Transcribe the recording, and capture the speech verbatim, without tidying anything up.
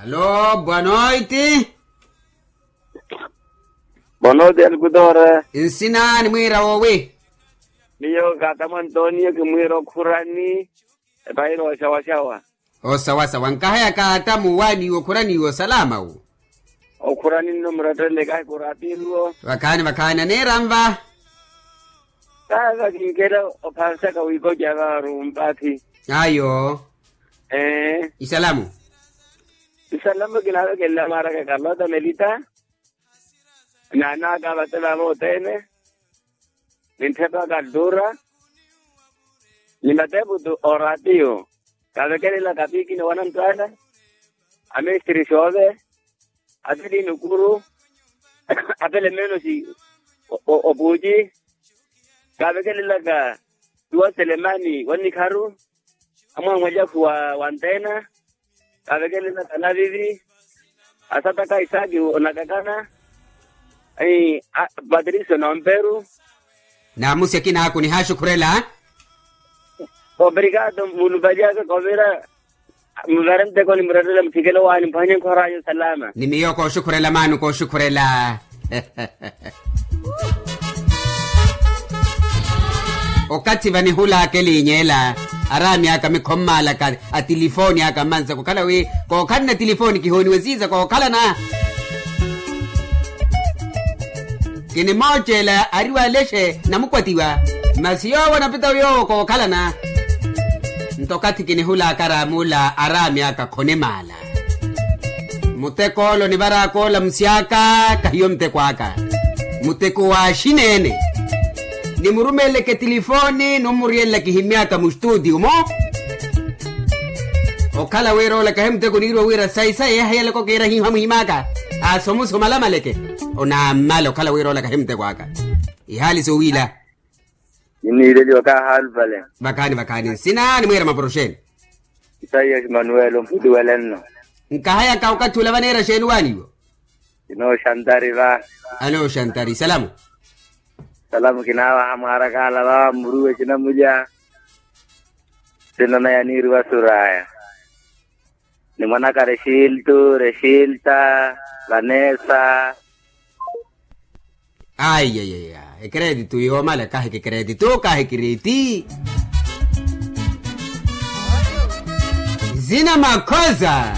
Alo, boa noite. Boa noite, alkutore. Nsina nimwiira woowi? Miyo kaatamu antonio kimwiira okhurani. Epairo oxawaxawa. Osawasawa nkahaya kaatamu waaniiwo khuraniiwo salama wu. Okhurani nno murettelele kahi kurapiiwo. Vakhaani vakhaani aniira nva. Kaava kinkela ophansaka wiikoca vaaru mpathi. Ayo. Ee. Isalamu. Isalamu kinaavekelela mwaaraka kalota melita. Naanaaka vate vavo othene. Ni nthepa kaltura. Ni mateputu orapiyo. Kavekelelaka piikini wanantwala. Amestiri xoove. Atili nukuru. Apele meenosi. Opuuci. Kavekelelaka tuwa selemani wannikharu. Amwaamwalyahu wa wantena. Kavekelelaka navivi. Asataka isaaki onakakana. Patricio nomperu. Naamusi akinaaku nihaaxukhurela. Obrigado mulupalyaka kovira. Muvare nteko nimurettela muthikelo waani mpwanye nkhorayo salama. Ni miyo kooxukhurela maano kooxukhurela. Okathi vanihulaka elinyela araami aka mikhommaalaka. Atilifooni aka mmansa kukhala wi kookhalana tilifooni kihooniwe siiza kookhalana. Kinimooceela ariwalexe namukwatiwa. Masi yoowo anapita yoowo kookhalana. Nto okathi kinihulaka araami aka khonimaala. Muteko ola onivaraka ola musiaka kahiyo muteko aka. Muteko wa axineene. Nimurumeleleke tilifooni nummuriyelela kihimyaka mustutiyo mu. Okhala wira ola kahi muteko niiriwa wira sayi sayi yaheyelaka okiira hiiho amuhimaka. Asomuso malamaleke. Onammala okhala wira ola kahi muteko aka. Ihaali sowiila. Niniileliwa kaahaalu vale. Vakhaani vakhaani nsina nimwiira mapuro xeeni? Isaiyasi manuwelo mpuliwelenno. Nkahayaka okathi ula vaneera xeeni waaniiwo? Ino xantari va. Alo xantari salamu. Salamu kinaavaha mwaarakaala va muruwe cinamulya. Sinanaya niiriwa suraya. Ni mwanaka rexiltu rexilta. Vanessa. Aiyaiya. Ekeretitu yoomala kahi kekeretitu kahi kiriti. Zina makhoza.